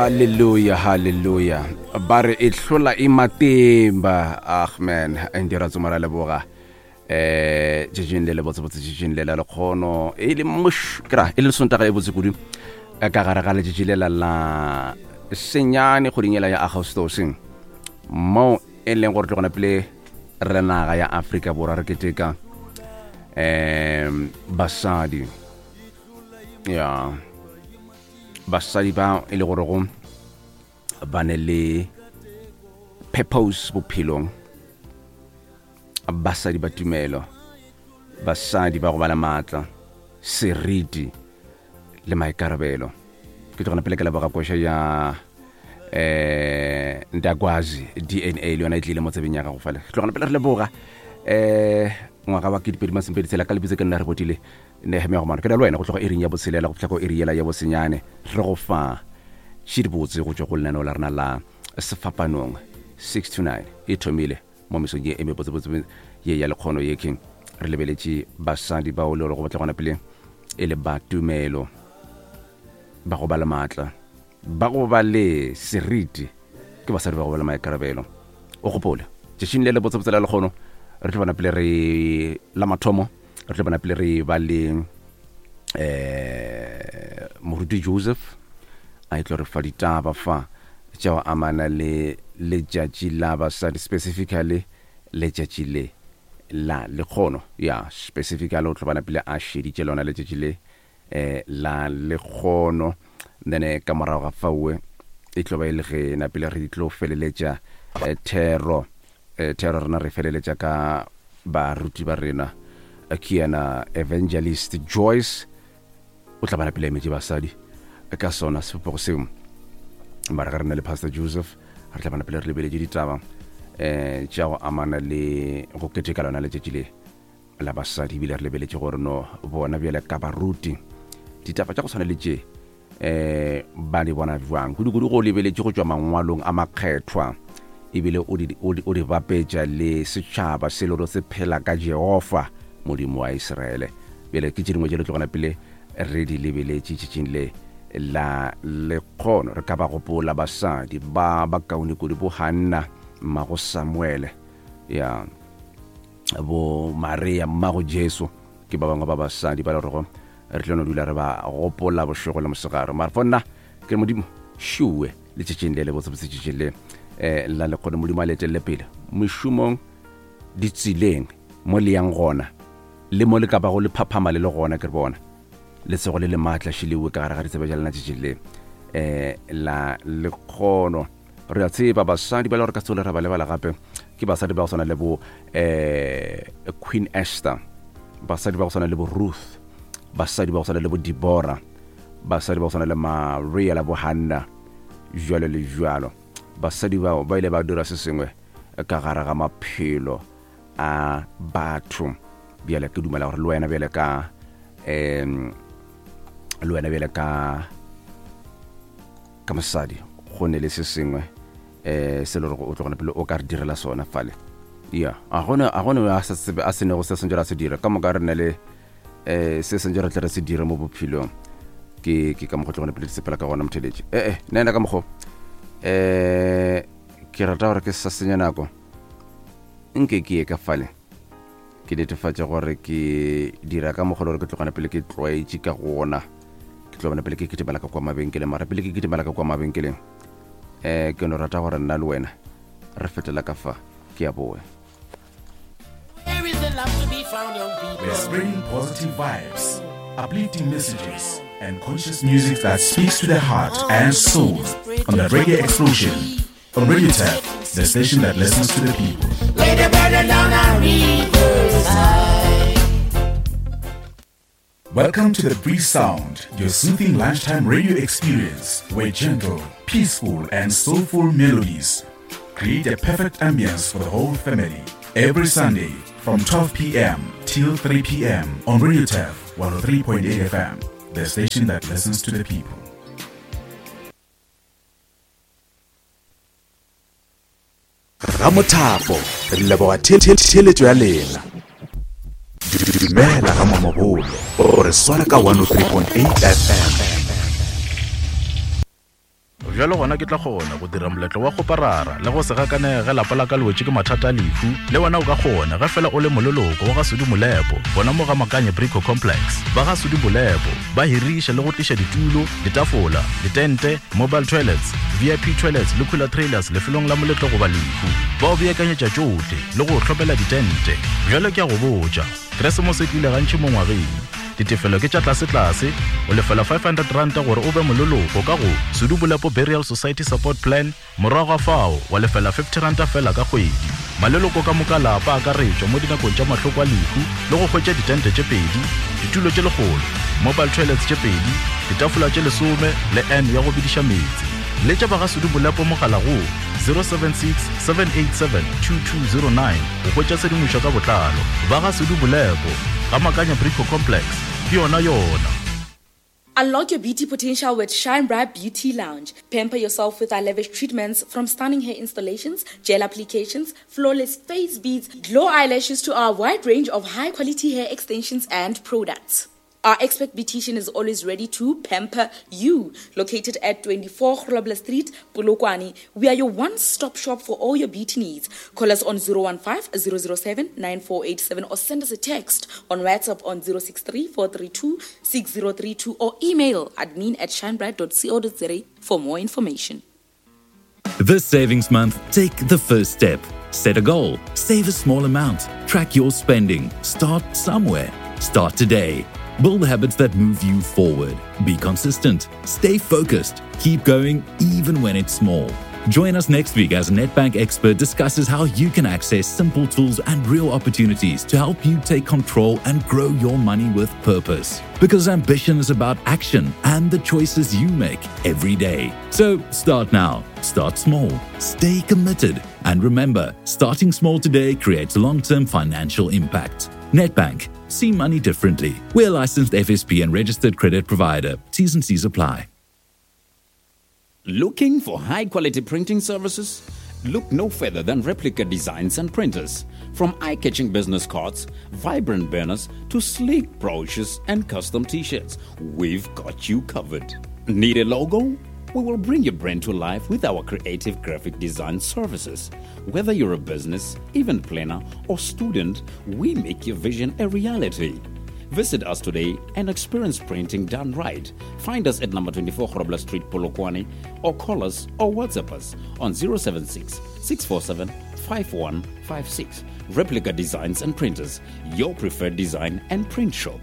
Hallelujah, hallelujah. Ba re e hlola e matimba. Ag man, ndira tsomara leboga. Eh, tšetšeng le le botsebotse tšetšeng le la lekgono e le moš kra e le sontaga e botse kudu ka gare ga letšatši le la la senyane kgweding ela ya Agostose mo e leng gore tlogona pele re naga ya Afrika Borwa re keteka um basadi ya basadi ba e le gore go ba ne le purpose bophelong basadi ba tumelo basadi ba go ba le maatla seriti le maikarabelo ke tlogona pele ke leboga koša ya eh ndakwazi dna le yona e tlile mo tsebeng ya gago fale tlogona pele re leboga eh ngwaga wa ke dipedi masomepedi tshela ka lebitso ke nna re botile Nehemia Gomano ke na le wena go tloga iring ya botshelela go fihla ko iri yela ya bosenyane re go fa tšhidibotse go tšwa go lenaneo la rena la sefapanong 6 to 9 e thomile mo mesong ye e mebotsebotse ye ya lekgono ye ke re lebeletše basadi bao le gore go batla gona pele e le ba tumelo ba go ba le maatla Ba go ba le seriti ke basadi ba go ba le maikarabelo. O gopole, tšatšing le le botsebotse la lekgono re tlo bona pele re la mathomo re tlo bona pele re ba le eh moruti Joseph a e tlo re fa ditaba fa tša go amana le letšatši la basadi specifically letšatši le la lekgono ya specifically o tlo bona pele a šeditše lona letšatši le eh, la lekgono then eh, ka morago ga faue e tlo ba e le ge napile re tlo feleletša eh, thero eh, thero rena re feleletša ka baruti ba rena eh, ke yena evangelist Joyce o tla ba napile emetše basadi eh, ka sona sebopego seo mara ge re na le pastor Joseph re tla ba napile re lebeletše ditaba um tša go amana le go keteka lona letšatši le la basadi ebile re lebeletše gore no bona bjale ka baruti ditaba tša go tshwana le tše um ba di bona bjang kudu-kudu go lebeletše go tšwa mangwalong a makgethwa ebile o di, o di, o di bapetša le setšhaba se le gore se phela ka Jehofa modimo wa Israele bjale ke tše dingwe tše le tlogana pele re di lebeletše tšatšing le la lekgono re ka ba gopola basadi ba ba kaone kudu bo Hanna mmago Samuele ya bo Maria mmago Jesu ke ba bangwe ba basadi ba le gorego re tlo no dula re ba gopola bošego le mosegare mara fo nna ke modimo šuwe letšatšing le le botsebotse tšatšing le um la lekgone modimo a le etelele pele mešomong ditseleng mo le yang gona le mo le ka bago le phaphama le le gona ke re bona letsogo le le maatla šilewe ka gare ga ditsebe tša lena tšatšing le um la lekgono Re a tseba basadi ba le gore ka sole ra ba lebala gape ke basadi ba go swana le bo eh, Queen Esther, basadi ba go swana le bo Ruth, basadi ba go swana le bo Deborah, basadi ba go swana le Maria la bo Hanna, jwalo le jwalo. Basadi bao ba ile ba dira se sengwe ka gare ga maphelo a batho. Bjale ke dumela gore le wena bjale ka um le wena bjale ka ka mosadi go ne le se sengwe um se le gore o tlogone pele o ka re direla sona fale ya a gone a gone a sa tsebe a senego se sentse ra se dira ka moka re ne le um se sentse re tle re se dire mo bophelong ke ke ka mokgwa tlogone pele di sepela ka gona motheletše ee eh, nna ena ka mokgwa um ke rata gore ke sa senya nako nke ke ye ka fale ke netefatše gore ke dira ka mokgwa le gore ke tlogana pele ke tlwaetše ka gona ke tlo bona pele ke kitimela ka kwa mabenkeleng mara pele ke kitimela ka kwa mabenkeleng um ke no rata gore nna le wena re fetela ka fa ke ya boe We're spreading positive vibes, uplifting messages, and conscious music that speaks to the heart and soul on the Reggae Explosion on Radio Tap, the station that listens to the people. Lay the burden down on riverside. Welcome to the Breeze Sound, your soothing lunchtime radio experience where gentle, peaceful, and soulful melodies create a perfect ambience for the whole family. Every Sunday from 12 p.m. till 3 p.m. on Radio Taf 103.8 FM, the station that listens to the people. Ramothapo re leboga theeletšo ya lena. Dumela ga Mamabolo o re swara ka 103.8 FM. Bjalo gona ke tla kgona go dira moletlo wa kgoparara le go se gakanege ge lapa la ka le wetše ke mathata a lehu. Le wena o ka kgona ge fela o le moleloko wa ga Sudi Molepo gona mo ga Makanye Brico Complex. Ba ga Sudi Molepo ba hiriša le go tliša ditulo, ditafola, ditente, mobile toilets, VIP toilets le cooler trailers lefelong la moletlo goba lehu. Ba o beakanyetša tšohle le go o hlomela ditente. Bjalo ke a go botša, Keresemose e tlile gantši mo ngwageng. Ditefelo ke tša tlasetlase, o lefela R500 gore o be moleloko ka go Sudu Bolepo Burial Society Support Plan, morago ga fao wa lefela R50 feela ka kgwedi. Maleloko ka moka a lapa a akaretšwa mo dinakong tša mahloko a lehu le go hwetša ditente tše pedi, ditulo tše lekgolo, mobile toilets tše pedi, ditafola tše lesome le urn ya go bediša meetse. Letša ba ga Sudu Bolepo mogala go 076 787 2209 go hwetša tshedimošo ka botlalo. Ba ga Sudu Bolepo, ga Makanya Brico Complex, ke yona yona. Unlock your beauty potential with Shine Bright Beauty Lounge. Pamper yourself with our lavish treatments from stunning hair installations, gel applications, flawless face beads, glow eyelashes to our wide range of high quality hair extensions and products. Our expert beautician is always ready to pamper you. Located at 24 Grobler Street, Polokwane, we are your one-stop shop for all your beauty needs. Call us on 015 007 9487 or send us a text on WhatsApp on 063 432 6032 or email admin at shinebright.co.za for more information. This savings month, take the first step. Set a goal, save a small amount, track your spending, start somewhere. Start today. Build habits that move you forward. Be consistent, stay focused, keep going even when it's small. Join us next week as Nedbank expert discusses how you can access simple tools and real opportunities to help you take control and grow your money with purpose. Because ambition is about action and the choices you make every day. So start now, start small, stay committed, and remember starting small today creates long term financial impact. Nedbank, see money differently. We're a licensed FSP and registered credit provider. T's and C's apply. Looking for high quality printing services? Look no further than Replica Designs and Printers. From eye catching business cards, vibrant banners, to sleek brochures and custom t shirts, we've got you covered. Need a logo? We will bring your brand to life with our creative graphic design services. Whether you're a business, event planner, or student, we make your vision a reality. Visit us today and experience printing done right. Find us at number 24 Grobler Street, Polokwane, or call us or WhatsApp us on 076 647 5156. Replica Designs and Printers, your preferred design and print shop.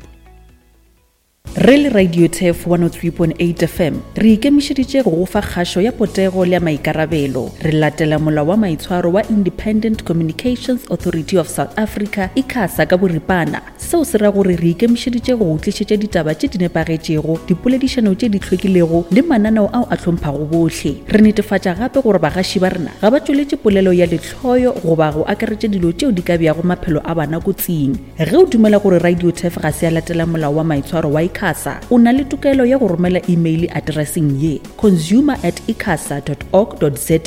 Re le Radio Turf 103.8 FM, re ikemišeditše go go fa kgašo ya potego le ya maikarabelo. Re latela molao wa maitshwaro wa Independent Communications Authority of South Africa, ICASA, ka boripana. Seo se ra gore re ikemišeditše go go tlišetša ditaba tše di nepagetšego, dipoledišano tše di hlwekilego le mananeo ao a hlomphago bohle. Re netefatša gape gore bagaši ba rena ga ba tšweletše polelo ya lehloyo goba go akaretša dilo tšeo di ka beago maphelo a bana kotsing. Ge o dumela gore Radio Turf ga se ya latela molao wa maitshwaro wa ICASA, o na le tokelo ya go romela imeile atereseng ye, consumer at icasa dot org dot za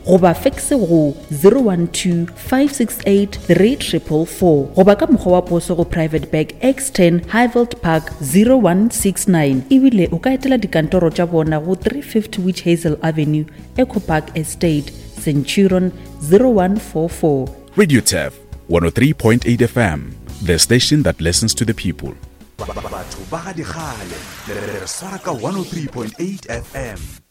goba fekse go 012 568 3444 goba ka mokgwa wa poso go Private Bag X10 Highveld Park 0169 ebile o ka etela dikantoro tša bona go 350 Witch Hazel Avenue, Echo Park Estate, Centurion 0144. Radio Turf 103.8 FM, the station that listens to the people. Batho ba ga dikgale le re swara ka 103.8 FM.